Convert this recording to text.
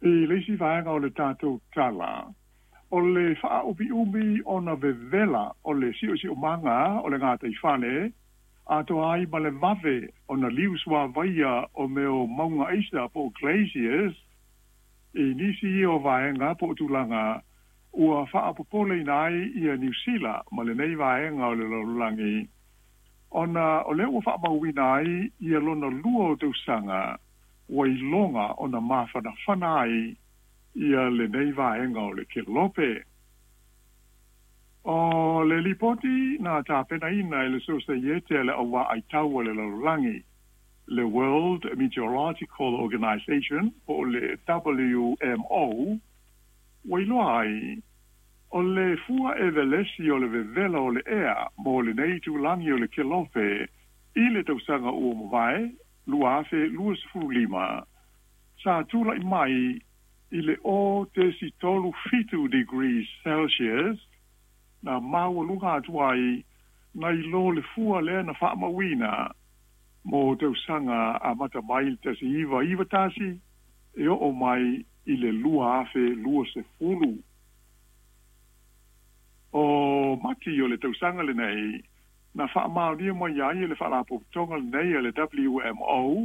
I le isi vaega o le tatou tala, o le faaumiumi ona vevela o le siosiomaga o le gataifale, atoa ai ma le vave ona liu suāvaia o mea o mauga aisa po o glaciers, i nisi ia o vaega po o tulaga ua faapopoleina ai ia Niu Sila ma lenei vaega o le lalolagi, ona o lea ua faamauina ai ia lona lua o tausaga ua iloga ona mafanafana ai ia lenei vaega o le kelope. O le lipoti na tapenaina e le Sosaiete a le Au Vaai Tau a le Lalolagi, le World Meteorological Organization po o le WMO, ua iloa ai, o le fua evelesi o le vevela o le ea mo lenei itulagi o le kelope i le tausaga ua mavae, 2025, sa tulai mai i le 0.37 degrees Celsius, na maualuga atu ai nai lo le fua lea na faamauina mo tausaga amata mai i le 1991 e oo mai i le 2020. O Mati o le tausaga lenei na faamaonia mai ai e le faalapotopotoga lenei a le WMO.